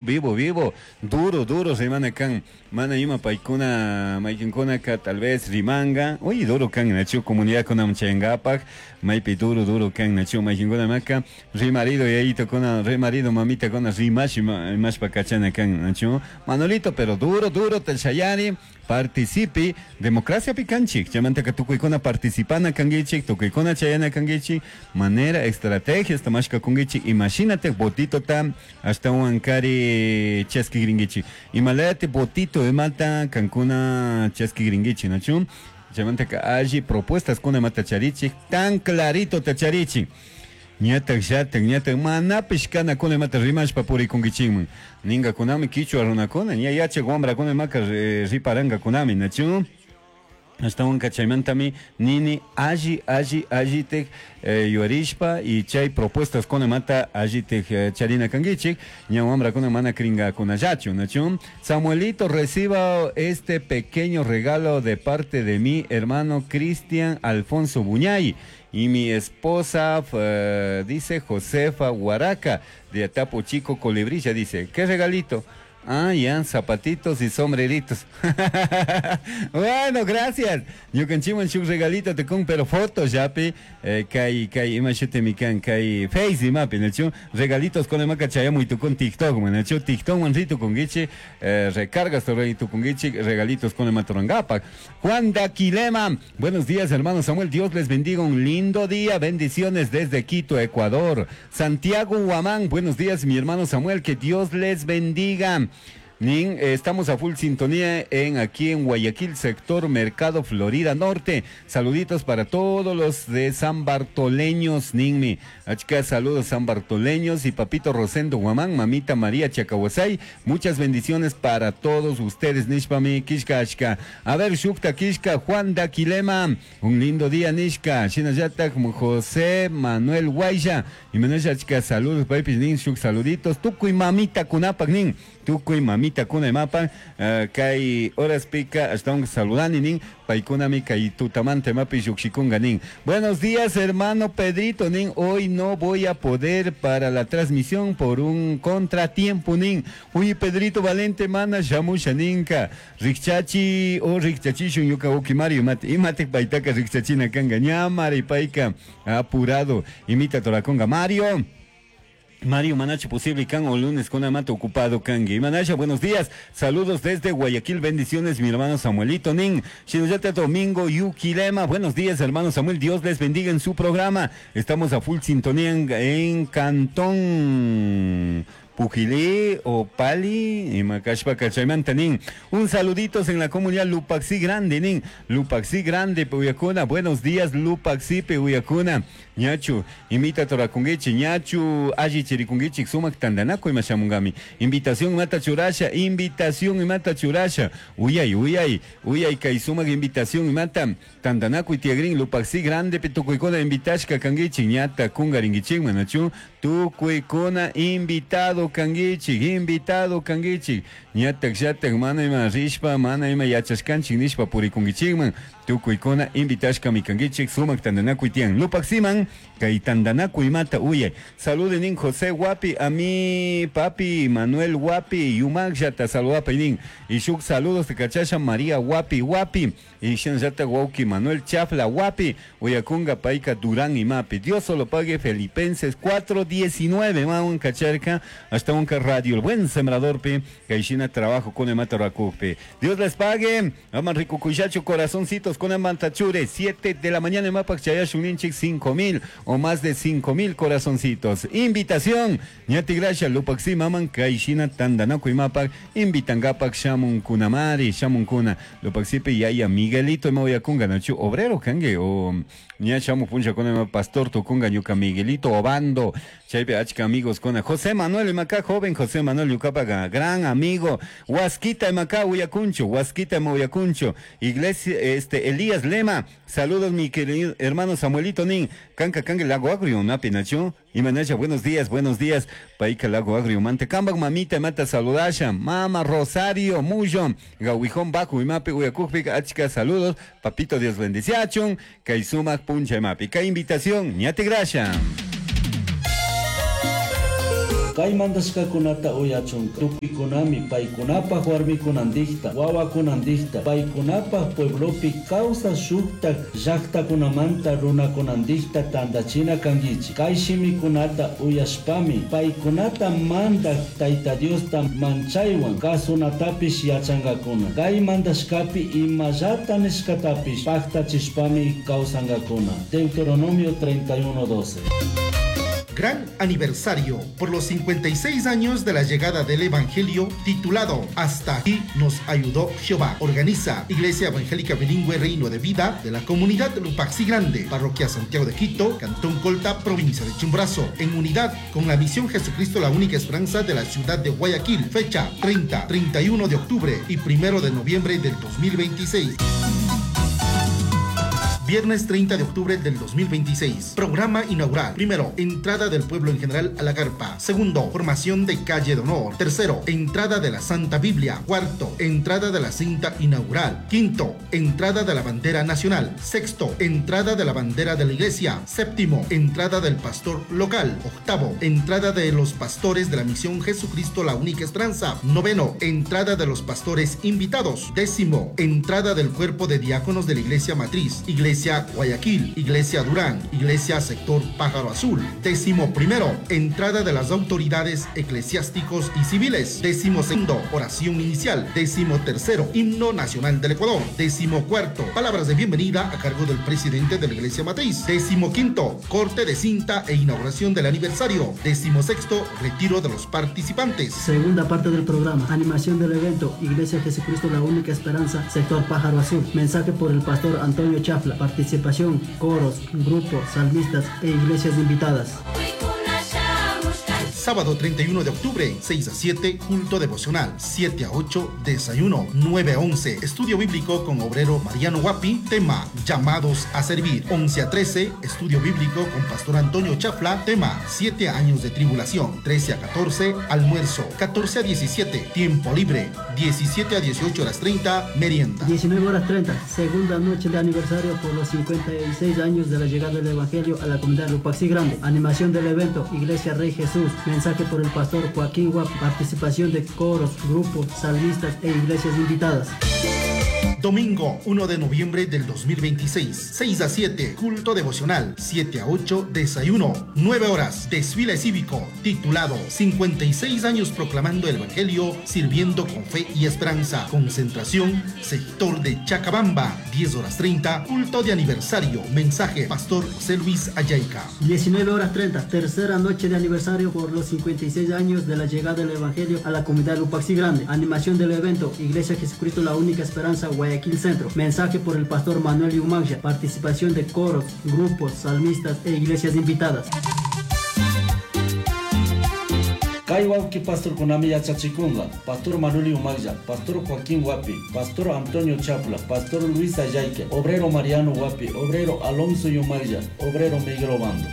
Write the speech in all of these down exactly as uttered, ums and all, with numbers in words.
Vivo, vivo, duro, duro rimana kan, mana ima paykuna, maykinkunaka tal vez rimanga, uy, duro kan, nachu, comunidad kunam chayangapak, maypi duro, duro kan, nachu, maykinkuna maka, rimarido, yayito kuna, rimarido, mamita kuna, rimash, imashpa kachana kan, nachu, Manolito, pero duro, duro, te shayari, participi, democracia picanchik, chamantaka tukuykuna participana kangichik, tukuykuna chayana kangichik, manera, estrategias, tamashka kungichik, imagínate, botito tam, hasta un ankari chaski gringichi. Imalayate botito emata kankuna chaski gringichi, nachu? Chamantaka alli propuestas kuna mata charichik, tan clarito tacharichik. Ñatak shatak, ñatak manapish kana kuna mata rimashpa purikunkichikman. Ninga kunami kichwa runakuna, ña yachak wambrakuna maka riparanga kunami, nachu? Ashtawanka chaymantami nini alli alli allitek eh, yuarishpa y chay propuestas kuna mata allitek eh, charina kangichik ña wambrakuna mana kringakunallachu, nachu? Samuelito, reciba este pequeño regalo de parte de mi hermano Cristian Alfonso Buñay y mi esposa, eh, dice Josefa Huaraca, de Atapo Chico Colibrilla, dice, ¿qué regalito? Ah, ya, zapatitos y sombreritos. Bueno, gracias. Ñukanchikman shuk regalito te con, pero fotos yapi, eh, kai, kai, ima shute mi kan, kai, face imapi, nachu, regalitos con imaka chayamuy tu con TikTok, man, nachu, TikTok man ritu con gichi, eh, recargas tu rey tu con gichi, regalitos con imatorangapa. Juan Daquilema, buenos días, hermano Samuel, Dios les bendiga, un lindo día, bendiciones desde Quito, Ecuador. Santiago Huamán, buenos días, mi hermano Samuel, que Dios les bendiga. Nin, eh, estamos a full sintonía en aquí en Guayaquil, sector Mercado Florida Norte. Saluditos para todos los de San Bartoleños, Ninmi. Achka, saludos San Bartoleños y papito Rosendo Guamán, mamita María Chacahuasay. Muchas bendiciones para todos ustedes, Nishpami, Kishka, Achka. A ver, Shukta, Kishka, Juan Daquilema. Un lindo día, Nishka. Shinayata, como José Manuel Guaya. Y Manuel Achka, saludos, papi, Nin, Shuk, saluditos. Tucu y mamita Kunapak, Nin. Tucu y mamita kuna imapa, uh, kay horas pica hasta un saludani nin paikunami kay tutamante mapi yukshikunga nin. Buenos días, hermano Pedrito nin, hoy no voy a poder para la transmisión por un contratiempo nin. Uy, Pedrito Valente mana shamusha ninka. Rikchachi o rikchachishun yuka uki Mario mate imate paitaka rikchachina kanga ñamari paika apurado imita torakonga Mario. Mario Manache posible can o lunes con amate ocupado kangi. Manache, buenos días. Saludos desde Guayaquil, bendiciones mi hermano Samuelito Nin. Shinuyate Domingo Yuquilema, buenos días hermano Samuel, Dios les bendiga en su programa. Estamos a full sintonía en, en Cantón Pujilí o Pali y Macashpa Cachaymanta nin. Un saluditos en la comunidad Lupaxi Grande nin. Lupaxi Grande Peuyacuna. Buenos días Lupaxi Peuyacuna. Ñachu, imita torakunguichi, ñachu, alli chirikunguichi, sumak tandanaku imashamungami. Invitación mata churasha, invitación mata churasha. Uyay, uyay, uyay kay sumak invitación mata tandanaku tiagrin Lupaxi Grande petukuykuna invitashka kanguichi, ñata kungaringuichi, manachu, tukuykuna invitado kanguichi, invitado kanguichi. Ñatak yatak mana ima rishpa, mana ima yachashkanchik nishpa purikunguichikman. Tukuykuna invitashka mikanguichik sumak tandanakuy tiyan. Lupaximan kay tandanakuy mata uyay. Saluden José Guapi, a mi papi Manuel Guapi, Yumakllata saludapa nin. Y shuk saludos de cachasha María Guapi Guapi. Y shanllata Guauki Manuel Chafla Guapi. Uyakunga Paika Durán y Mapi. Dios solo pague Felipenses cuatro diecinueve. Maun cacharca hasta un radio. El buen sembrador pe. Kaishina trabajo con el mata rakupe. Dios les pague. Aman rico cuyacho corazoncitos con el mantachure. siete de la mañana en Mapac Chayashuninchik cinco mil o más de cinco mil corazoncitos. Invitación. Ñati gracia Lupaxi maman Kaishina Tandanaku y Mapac. Invitangapak Shamun Kunamari Shamun Kuna. Lupaxipe Yaya Miguelito Maoyakunga Nachu obrero kange o ña shamu puncha con el pastor tukunga ñuka Miguelito Obando. Chaype achka amigos con José Manuel Macá, joven José Manuel Yucapaga, gran amigo. Huasquita Macá Uyacuncho, Huasquita Uyacuncho. Iglesia, este Elías Lema, saludos mi querido hermano Samuelito Nin. Canca cangue lago agrio, napi nacho. Y manacha, buenos días, buenos días. Paika lago agrio, mante. Cambag mamita mata saludasha. Mama Rosario Muyo. Gawijón bajo y mapi uyacujpic, achka saludos. Papito Dios bendiciachun. Kaisumac puncha mapi. Ka invitación, ñate gracia. Kay mandashkakunata uyachunka tukuykunami paykunapaj warmikunandikta wawakunandikta paykunapaj pueblopi kawsaj shuktak llaktakunamanta runakunandikta tantachina kankichik. Kay shimikunata uyashpami paykunata mandak Tayta Diosta manchaywan kasunatapish yachankakuna. Kay mandashkapi imallata nishkatapish paktachishpami kawsankakuna. Deuteronomio treinta y uno doce. Gran aniversario por los cincuenta y seis años de la llegada del Evangelio, titulado Hasta aquí nos ayudó Jehová. Organiza Iglesia Evangélica Bilingüe Reino de Vida de la Comunidad Lupaxi Grande, Parroquia Santiago de Quito, Cantón Colta, Provincia de Chimborazo, en unidad con la Misión Jesucristo la Única Esperanza de la Ciudad de Guayaquil. Fecha treinta, treinta y uno de octubre y primero de noviembre del dos mil veintiséis. Viernes treinta de octubre del dos mil veintiséis. Programa inaugural. Primero, entrada del pueblo en general a la carpa. Segundo, formación de calle de honor. Tercero, entrada de la Santa Biblia. Cuarto, entrada de la cinta inaugural. Quinto, entrada de la bandera nacional. Sexto, entrada de la bandera de la iglesia. Séptimo, entrada del pastor local. Octavo, entrada de los pastores de la misión Jesucristo la Única Esperanza. Noveno, entrada de los pastores invitados. Décimo, entrada del cuerpo de diáconos de la iglesia matriz. Iglesia Guayaquil, Iglesia Durán, Iglesia Sector Pájaro Azul. Décimo primero, entrada de las autoridades eclesiásticos y civiles. Décimo segundo, oración inicial. Décimo tercero, himno nacional del Ecuador. Décimo cuarto, palabras de bienvenida a cargo del presidente de la Iglesia Matriz. Décimo quinto, corte de cinta e inauguración del aniversario. Décimo sexto, retiro de los participantes. Segunda parte del programa, animación del evento, Iglesia Jesucristo la Única Esperanza, Sector Pájaro Azul. Mensaje por el pastor Antonio Chafla. Participación, coros, grupos, salmistas e iglesias invitadas. Sábado treinta y uno de octubre, seis a siete, culto devocional, siete a ocho, desayuno, nueve a once, estudio bíblico con obrero Mariano Guapi, tema, llamados a servir, once a trece, estudio bíblico con pastor Antonio Chafla, tema, siete años de tribulación, trece a catorce, almuerzo, catorce a diecisiete, tiempo libre, diecisiete a dieciocho horas treinta, merienda. diecinueve horas treinta, segunda noche de aniversario por los cincuenta y seis años de la llegada del Evangelio a la comunidad Lupaxi Grande, animación del evento, Iglesia Rey Jesús, mensaje por el pastor Joaquín Guapi, participación de coros, grupos, salmistas e iglesias invitadas. Domingo uno de noviembre del dos mil veintiséis, seis a siete, culto devocional, siete a ocho, desayuno, nueve horas, desfile cívico, titulado cincuenta y seis años proclamando el Evangelio, sirviendo con fe y esperanza, concentración, sector de Chacabamba, diez horas treinta, culto de aniversario, mensaje, pastor José Luis Ayaica. diecinueve horas treinta, tercera noche de aniversario por los cincuenta y seis años de la llegada del Evangelio a la comunidad Lupaxi Grande, animación del evento, Iglesia Jesucristo la Única Esperanza, Guayaquil Centro, mensaje por el pastor Manuel Yumagya, participación de coros, grupos, salmistas e iglesias invitadas. Kay wawki pastor kunami yachachikunga, pastor Manuel Yumagya, pastor Joaquín Guapi, pastor Antonio Chapla, pastor Luis Ayayque, obrero Mariano Guapi, obrero Alonso Yumagya, obrero Miguel Obando.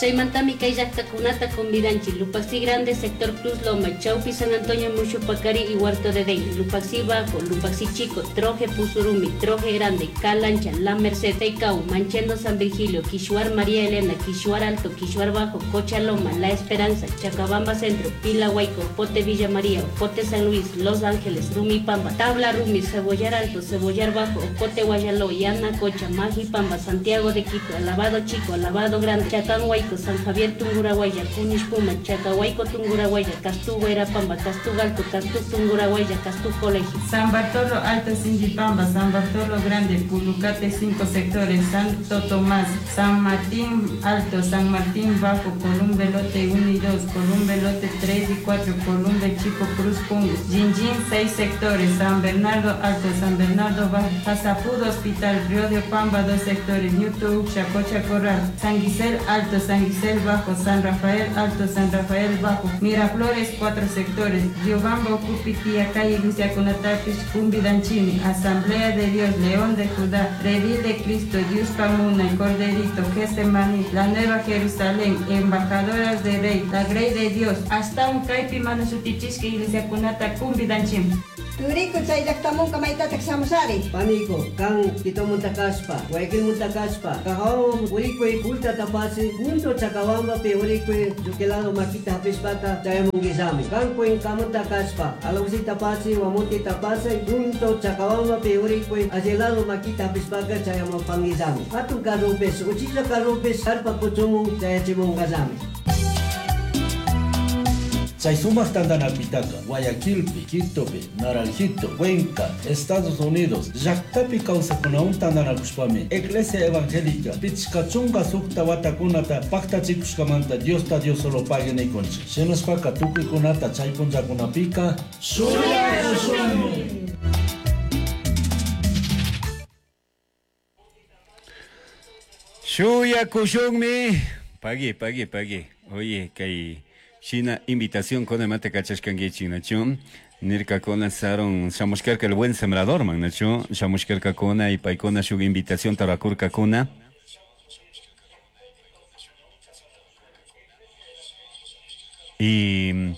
Chaymantami kay llaqtakunata convidanchik Lupaxi Grande, Sector Cruz Loma, Chaupi, San Antonio, Mushupacari y Huerto de Dey, Lupaxi Bajo, Lupaxi Chico, Troje Pusurumi, Troje Grande, Calancha, La Merced, Teicau, Manchendo, San Virgilio, Quishuar, María Elena, Quishuar Alto, Quishuar Bajo, Cochaloma, La Esperanza, Chacabamba Centro, Pila Huayco, Pote Villa María, Pote San Luis, Los Ángeles, Rumipamba, Tabla Rumi, Cebollar Alto, Cebollar Bajo, Ocote Guayaló, Yana Cocha, Majipamba, Santiago de Quito, Alabado Chico, Alabado Grande, Chacán Huayco, San Javier Tungurahuaya, Cunishpuma, Chacahuayco Tungurahuaya, Castú Guairapamba, Castú Alto, Castú Tungurahuaya, Castú Colegio. San Bartolo Alto Singuipamba, San Bartolo Grande, Pulucate cinco sectores, Santo Tomás, San Martín Alto, San Martín Bajo, Columbe Lote uno y dos, Columbe Lote tres y cuatro, Columbe Chico Cruz Pungo, Jinjin seis sectores, San Bernardo Alto, San Bernardo Bajo, Pasapudo Hospital, Río de Pamba dos sectores, Ñuto Uxia, Cocha Corral, San Guisel Alto, San Guisel Bajo, San Rafael Alto, San Rafael Bajo, Miraflores cuatro sectores, Riobamba, Ocupi, Calle Iglesia Conatapis, Cumbidanchini, Asamblea de Dios, León de Judá, Redil de Cristo, Dios Pamuna, el Corderito, Getsemaní, la Nueva Jerusalén, Embajadoras de Rey, la Grey de Dios, hasta un Caipi Manusutichishki, Iglesia Conata, Cumbidanchini. Turiku chay llaqtamunka maytataq shamushari. Paniku, kan Quitomunta kashpa, Guayaquilmunta kashpa, Cajahuan urikuy kulta tapasi, junto Chacabambapi urikuy lluquilado makita hapishpaka chayamunguillami. Kan Cuencamunta kashpa, Alausí tapasi, Guamuti tapasi, junto Chacabambapi urikuy allilado makita hapishpaka chayamupanguillami. Hatun carrupis, uchilla carrupis, carpa kuchumun chayachimunqallami. Chay sumaq tantanakuytaqa Guayaquilpi, Quitopi, Naranjito, Cuenca, Estados Unidos, llaqtapi kawsakunawan tantanakushpami Iglesia Evangélica pichqa chunka suqta watakunata paqtachikushkamanta Diosta Dios solo pague nikunchik. Shinashpaka tukuykunata chay punllakunapika shuyakushunmi. Shuyakushunmi. Pagui, pagui, pagui. Oye, kay shina invitación con mate kachashkankichik, nachu. Nirkakuna saron shamushkarka el buen sembrador man, nachu. Shamushkarkakuna y paykuna shuk invitación tarakurkakuna. Y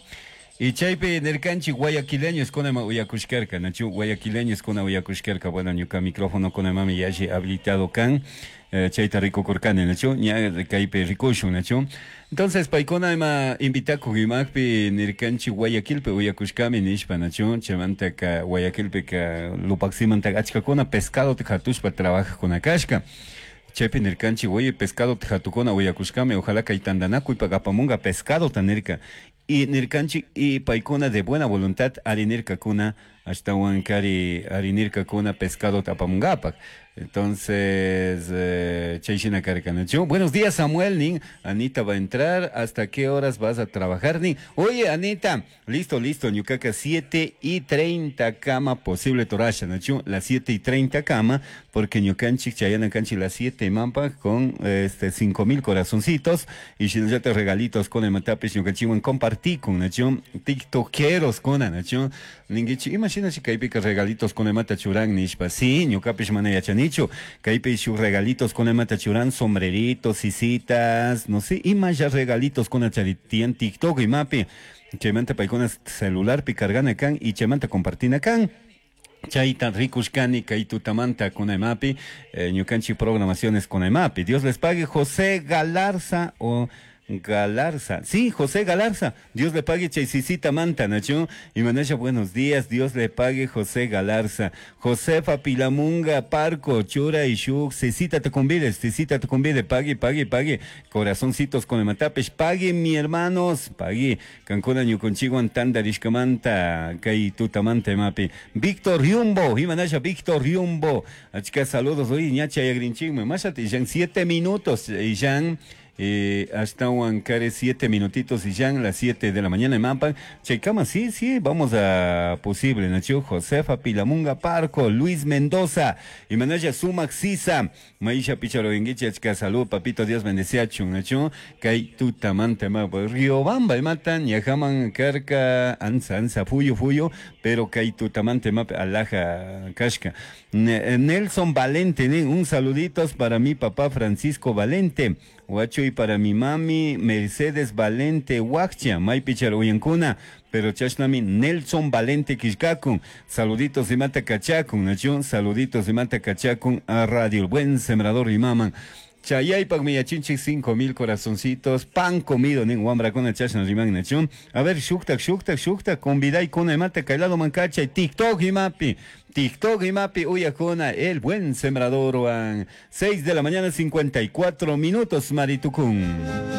y chaypi nirkanchik guayaquileños kunama uyakushkarka, nachu. Guayaquileños kuna uyakushkarka. Bueno, ñuka micrófono kunamami yalli habilitado kan. Eh, chayta rikukurkani, nachu. Ña kaypi rikushun, nachu. Entonces, paykuna ima invitakuq imaqpi nirkanchik Guayaquilpi uyakushkami nishpa, nachu. Chaymantaka Guayaquilpika Lupacsimantaka achkakuna pescado hatushpa trabajaqkuna kashka. Chaypi nirkanchik, oye, pescado hatukuna uyakushkami, ojalá kay tantanakuypaq apamunqa pescado ta nirka. Y nirkanchik y paykuna de buena voluntad arinirkakuna ashtawan kari arinirkakuna pescado apamunqapaq. Entonces, eh, chay shina karka, nachu. Buenos días, Samuel, nin. Anita va a entrar. ¿Hasta qué horas vas a trabajar, nin? Oye, Anita, listo, listo. Ñucaca, siete y treinta cama posible torasha, nachu. Las siete y treinta cama, porque ñucanchik, chayana canchi, las siete mampa con este cinco mil corazoncitos. Y si no te regalitos con el matapis, ñucanchiwan compartí con, nachu. Tiktokeros con, nachu. Ninguichi, imagina si kaypika regalitos con el mata churán, nishpa. Sí, ñucapish mana yachani. Kaypi shuk regalitos con el matachurán, sombreritos, sisitas, no sé, y más ya regalitos con el charitian TikTok y mapi. Chaymanta paykuna celular pi cargana kan y chaymanta compartina kan. Chayta rikushkani kay tutamanta kunaymapi, eh, ñukanchik programaciones kunaymapi. Dios les pague. José Galarza o Galarza, sí, José Galarza, Dios le pague chaysisita manta, nachu. Y manasha, buenos días, Dios le pague José Galarza. Josefa Pilamunga, Parco, Chura y Shuk, Cecita te convides, Cecita te convide, pague, pague, pague, corazoncitos con el matapes, pague mi hermanos, pague, Cancuna ñuconchigo antanda rishkamanta, kay tutamanta mapi. Víctor Riumbo, y manasha, Víctor Riumbo, achka saludos, oye, ñacha yagrinchigme, mashati, ya siete minutos, y ya. Eh, hasta Huancaré, siete minutitos y ya en las siete de la mañana en Mampan. Checama, sí, sí, vamos a posible, Nacho, Josefa Pilamunga Parco, Luis Mendoza, y Manaya Sumac Sisa, Maisha Picharo Inguiche, Achka, salud, papito, Dios bendice, Nacho, Kai Tutamante, Riobamba, Matan, Yajaman, Carca, Anza, Anza, Fuyo, Fuyo, pero Kai Tutamante, Map, Alaja, Kashka. Nelson Valente, un saluditos para mi papá Francisco Valente, Huacho, y para mi mami Mercedes Valente Huaccha, Maypichar Uyancuna, pero chashnami Nelson Valente Quishkakun, saluditos de Mata Cachacun, Nacho, saluditos de Mata Cachacun a Radio El Buen Sembrador y Maman. Chayaypak miyachinchik cinco mil corazoncitos, pan comido, nin wambra con chashna riman nachun. A ver, shuktak, shuktak, shuktak, conviday con mate kailado mancacha y TikTok y mapi. TikTok y mapi uyakuna, el buen sembrador, seis de la mañana, cincuenta y cuatro minutos, Maritucún.